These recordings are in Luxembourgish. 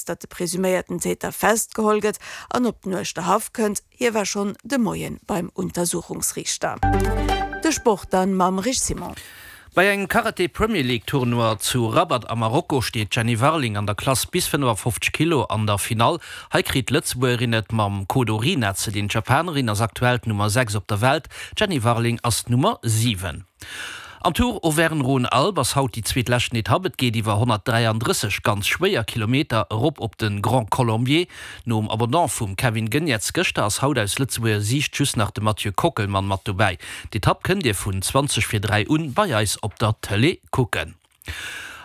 Vorausgesetzt, datt de presuméierten Täter festgeholl gëtt an op den Uerschterhaff kënnt. Hie war schonn de Moie beim Untersuchungsriichter. De Sport dann mam Rich Simon. Bei engem Karate Premier League Tournoi zu Rabat a Marokko steet d'Jenny Warling an der Klass bis 55 Kilo an der Finall. Hei kritt d'Lëtzebuergerin et mam Kodo Rina ze dinn. D'Japanerin ass aktuell d'Nummer 6 op der Welt, d'Jenny Warling ass d'Nummer 7. Am Tour Auvergne-Rhône-Alpes ass haut déi zweetleschten Etapp. Et geet iwwer 133 ganz schwéier Kilometer erop op de Grand Colombier. Nom Abandon vum Kevin Geniets gëschter ass haut aus Lëtzebuerger Siicht just nach de Mathieu Kockelmann mat dobäi. D'Etapp kënnt Dir vun 20 vir 3 un bei eis op der Tëlee kucken.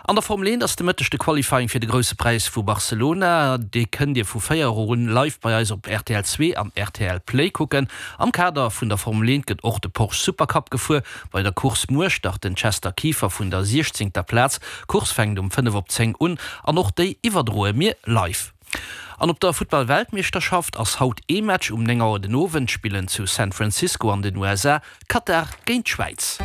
An der Formel 1 ass de Mëtteg de Qualifying fir de Grousse Präis vu Barcelona. Dee kënnt Dir vu 4 Auer un live bei eis op rtl 2 an rtl Play kucken. Am Kader vun der Formel 1 gëtt och de Porsche Supercup gefuer. Bei der Course muer start den Chester Kieffer vun der 16. Plaz. D'Course fänkt um 5 op 10 un an och déi iwwerdroe mir live. An op der Futtball-Weltmeeschterschaft ass haut ee Match um 9 Auer den Owend spillen zu San Francisco an den USA Katar géint d'Schwäiz.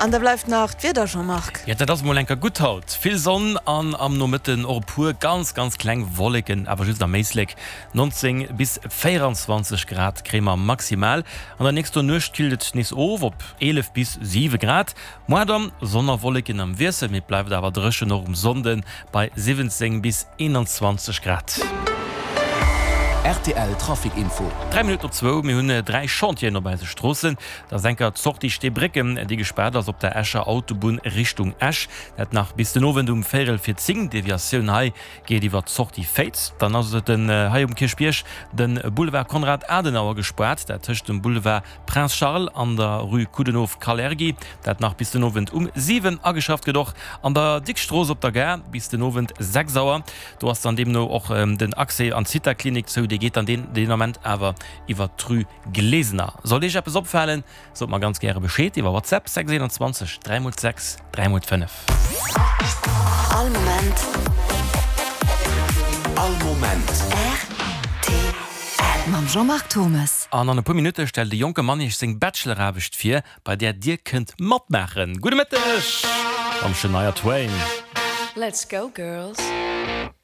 An da bleift nach d'Wieder, Jean-Marc. Jo, dat ass mol enker gutt haut. Vill Sonn an am Nomëtten och e puer ganz, ganz kleng Wolleken, awer just am Éislek. 19 bis 24 Grad kréie mer maximal. An der nächster Nuecht killt et nees of op 11 bis 7 Grad. Moar dann Sonn a Wolleken am Wiessel, mee et bleift awer dréchen, och um Sonnde bei 17 bis 21 Grad. Rtl Trafic Info. 3 Minutten op zwou, Mir hunn 3 Chantieren op eise Stroossen. Dat ass enker d'Sortie Steebrécken, déi gespaart ass op der Escher Autobunn Richtung Esch. Dat nach bis den Owend um véierel fir 10. Deviatioun hei geet iwwer d'Sortie Féiz. Dann ass et den hei um Kierchbierg de Boulevard Konrad Adenauer gespaart, dat tëscht dem Boulevard Prince Charles an der Rue Coudenhove-Kalergi, dat nach bis den Owend um 7. Ageschafft gëtt och an der Dickstrooss op der Gare bis den Owend 6 Auer. Do ass dann deemno och den Accès an d'Zithaklinik zou, dee geet dann deen Ament awer iwwer d'Rue Glesener. Sollt Iech eppes opfalen, Sot mer ganz gäre Bescheed iwwer WhatsApp 6 21 3 x 6 3 x 5. All Moment. All Moment. Rtl. Mam Jean-Marc Thommes. An an e puer Minutte stellt e jonke Mann iech seng Bacheloraarbecht vir, bei där dir kënnt matmaachen. Gudde Mëtteg mam Shania Twain. Let's go girls!